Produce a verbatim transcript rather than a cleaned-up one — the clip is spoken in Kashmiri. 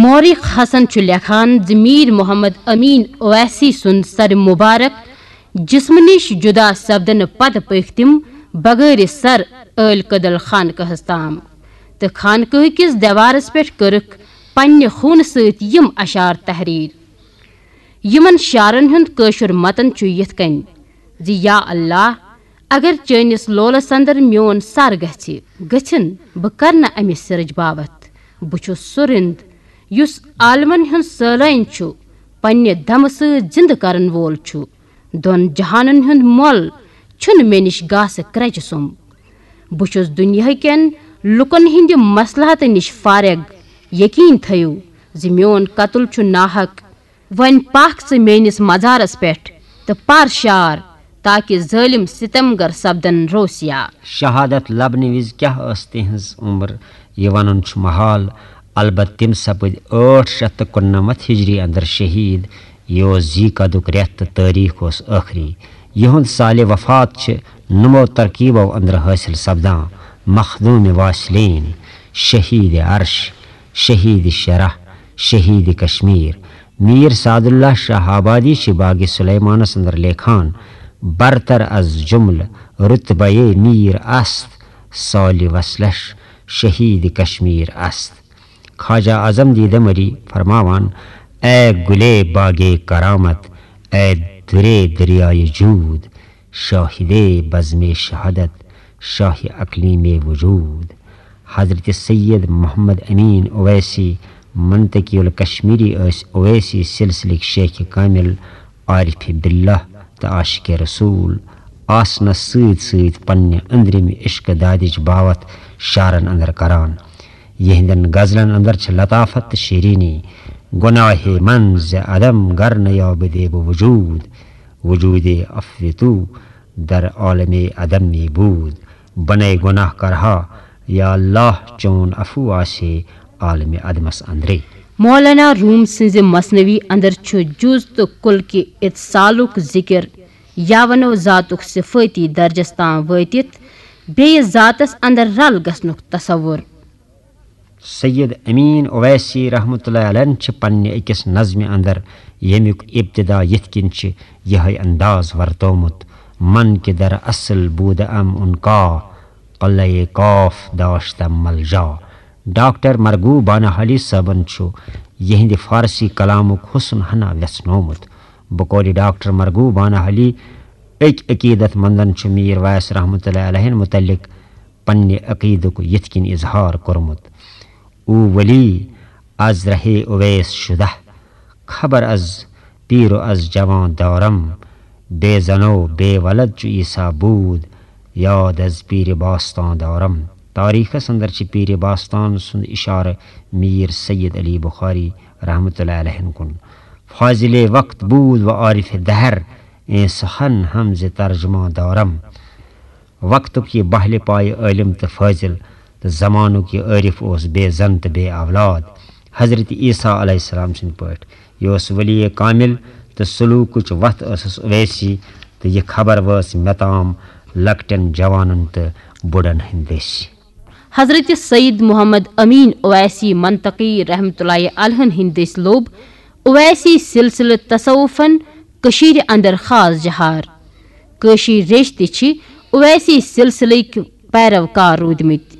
مورخ حسن چھُ لیکھان زِ میر محمد امین اویسی سُنٛد سر مبارک جسمہٕ نِش جدا سپدنہٕ پتہٕ پٔکۍ تِم بغٲرِ سر ٲلۍ کدل خانقاہس تام تہٕ خانقاہہٕ کِس دیوارس پٮ۪ٹھ کٔرٕکھ پننہِ خوٗنہٕ سۭتۍ یِم اشعار تحریر۔ یِمن شعرن ہُنٛد کٲشُر متن چھُ یِتھ کٔنۍ زِ یا اللہ، اگر چٲنِس لولس اندر میون سر گژھِ، گٔژھِن، بہٕ کرٕ نہٕ امہِ سرٕچ باوتھ۔ بہٕ چھُس سُہ رِند یُس عالمن ہُنٛد سٲلٲنۍ چھُ، پننہِ دمہٕ سۭتۍ زِندٕ کرن وول چھُ۔ دۄن جہانن ہُنٛد مۄل چھُنہٕ مےٚ نِش گاسہٕ کرٛچہِ سُم۔ بہٕ چھُس دُنیاہ کٮ۪ن لُکن ہٕنٛدِ مصلحتہٕ نِش فارغ۔ یقین تھٲیِو زِ میون قتل چھُ ناحق۔ وۄنۍ پکھ ژٕ میٲنِس مزارس پٮ۪ٹھ تہٕ پر شعر، تاکہ ظٲلم ستمگر سپدن روسیا۔ شہادت لبنہٕ وِزِ کیٛاہ ٲس تِہنٛز عمر، یہِ ونُن چھُ محال۔ البتہ تِم سپٕدۍ ٲٹھ شیٚتھ تہٕ کُننَمَتھ ہجری اندر شہید۔ یہِ اوس ذی قدُک رٮ۪تھ تہٕ تٲریخ اوس ٲخری۔ یِہُنٛد سالِ وفات چھِ نمو ترکیبو اندر حٲصِل سپدان: مخدوم واصلین، شہید عرش، شہید شرح، شہید کشمیر۔ میر سعد اللہ شاہ آبادی چھِ باغ سلیمانس اندر لیکھان: برتر از جملہ رتبہ میر است، سالِ وصلش شہید کشمیر است۔ خواجہ اعظم دیدہ مری فرماوان: اے گلے باغ کرامت، اے درے دریائے جود، شاہدے بزم شہادت، شاہ اقلیم وجود۔ حضرت سید محمد امین اویسی منطقی الکشمیری ٲسۍ اویسی سلسلٕکۍ شیخ کامل، عارف باللہ تہٕ عاشق رسول آسنس سۭتۍ سۭتۍ پننہِ أنٛدرِمہِ عشق دادِچ باوتھ شعرن اندر کران۔ یِہنٛدٮ۪ن غزلن اندر چھِ لطافت تہٕ شیرینی۔ گناہ من ز عدم گر نیابدے بہ وجود، وجود عفو تو در عالم عدم می بود۔ بنے گناہ کرہا یا اللہ، چون عفو آسے عالم عدمس اندرے۔ مولانا روم سٕنٛزِ مثنوی اندر چھُ جُز تہٕ کُل کہِ اتصالُک ذکر، یا ونو ذاتُک صفٲتی درجس تام وٲتِتھ بیٚیِس ذاتس اندر رل گژھنُک تصور۔ سید امین اویسی رحمۃ اللہ علیہ چھِ پننہِ أکِس نظمہِ اندر، ییٚمیُک ابتدا یِتھ کٔنۍ چھِ یِہوٚے انداز ورتومُت: من کہ در اصل بود ام ان کا، قلعہ کاف داشتم ملجا۔ ڈاکٹر مرغوب بانہالی صٲبن چھُ یِہنٛدِ فارسی کلامُک حسن ہنا ویژھنومُت۔ بقول ڈاکٹر مرغوب بانہالی، أکۍ عقیدت مندن چھُ میر ویس رحمۃ اللہ علیہ متعلق پننہِ عقیدُک یِتھ کٔنۍ اظہار کوٚرمُت: او ولی از رہے اویس شدہ، خبر از پیر و از جوان دارم، بے زن و بے ولد چو عیسیٰ بود، یاد از پیر باستان دارم۔ تاریخس اندر چھِ پیر باستان سُنٛد اشارٕ میر سید علی بخاری رحمۃ اللہ علیہ کُن۔ فاضل وقت بود و عارف دہر، ایں سخن ہم ز ترجمہ دارم۔ وقتُک یہِ بہلہِ پایہِ عٲلِم تہٕ فٲضِل تہٕ زمانُک یہِ عٲرِف اوس بے زن تہٕ بے اولاد۔ حضرت عیسیٰ علیہ السلام سٕنٛدۍ پٲٹھۍ۔ یہِ اوس ولی کامل تہٕ سلوکٕچ وتھ ٲسٕس اویسی، تہٕ یہِ خبر وٲژ مےٚ تام لۄکٹٮ۪ن جوانن تہٕ بُڑن ہٕنٛدۍ دٔسۍ۔ حضرت سید محمد امین اویسی منطقی رحمت اللہ علیہ ہن ہٕنٛدۍ دٔسۍ لوٚب اویسی سلسلہٕ تصوفن کٔشیٖرِ اندر خاص جہار۔ کٲشِرۍ ریٚش تہِ چھِ اویسی سلسلٕکۍ پیروکار روٗدمٕتۍ۔